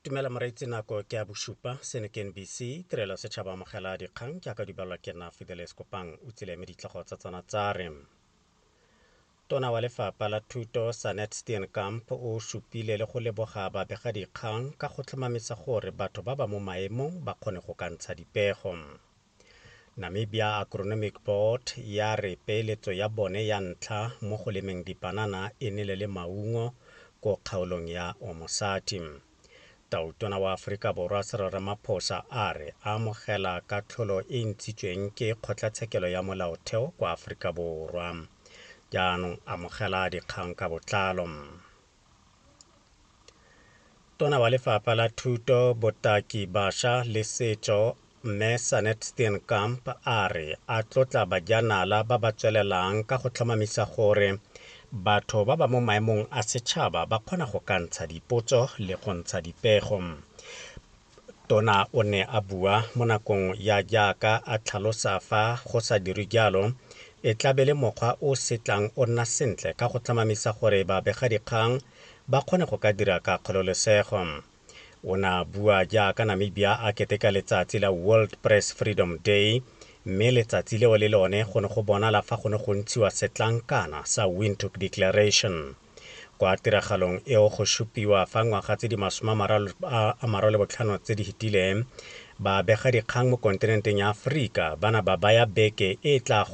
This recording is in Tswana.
Dumela moreetsi, nako ke ya bosupa. Seno ke NBC, tirelo setšhaba. Amogela dikgang jaaka di balwa ke nna Fidelis Kopang. O tsile mme ditlhogo tsa tsona tsa re: Tona wa Lefapha la Thuto Sanet Steenkamp o supile le go leboga babegadikgang ka go tlhomamisa gore batho ba ba mo maemong ba kgone go ka ntsha dipego. Namibia Agronomic Board ya re peeletso ya bone ya ntlha mo go lemeng dipanana e nele le maungo ko kgaolong ya Omusati. Tautona wa Aforika Borwa Cyril Ramaphosa a re amogela katlholo e ntshitsweng ke Kgotlatshekelo ya Molaotheo kwa Aforika Borwa. Jaanong amogela dikgang ka botlalo. Tona wa Lefapha la Thuto, Botaki, Bašwa le Setso Mme Sanet Steenkamp a re a tlotla bajanala ba ba tswelelang ka go tlhomamisa gore batho ba ba mo maemong a setšhaba ba kgona go ka ntsha dipotso le go ntsha dipego. Tona o ne a bua mo nakong ya jaaka a tlhalosa fa go sa dirwe jalo e tlabe le mokgwa o setlang o nna sentle ka go tlhomamisa gore babegadikgang ba kgone go ka dira ka kgololesego. O ne a bua jaaka Namibia a keteka letsatsi la World Press Freedom Day, mme letsatsi leo le lone go ne go bonala fa go ne go ntshiwa setlankana sa Windhoek Declaration. Kwa tiragalong eo go supiwa fa ngwaga tse di 35 tse di fetileng babegadikgang mo kontinenteng ya Aforika ba na ba baya beke e tla